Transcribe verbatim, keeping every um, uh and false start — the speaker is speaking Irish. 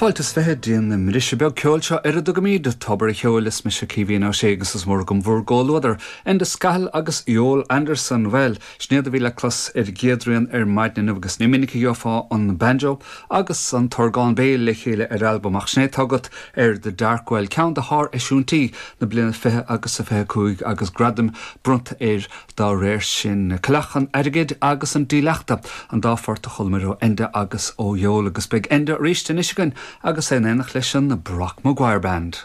Fáilte is fiche go dtí an mbriseadh beag ceoil seo ar a dtugaimid Tobar an Cheoil is mise Caoimhín Ó Sé agus is mór agam bhur gcomhluadar Enda Scahill agus Joel Anderson Well sin iad a bhí le clos ar an gcéad rian ar maidin agus ní minic a gheofá an banjo agus an t-orgán béil le chéile ar albam ach sin é atá agat ar The Dark Well ceann de sháreisiúintí na bliana fiche agus a fiche cúig agus gradam bronnta air dá réir sin. Coileach an Airgid agus an Dílleachta an dá phort a chualamar ó Enda agus ó Joel agus beidh Enda arís anois againn agus é in éineacht leis an Brock Maguire Band.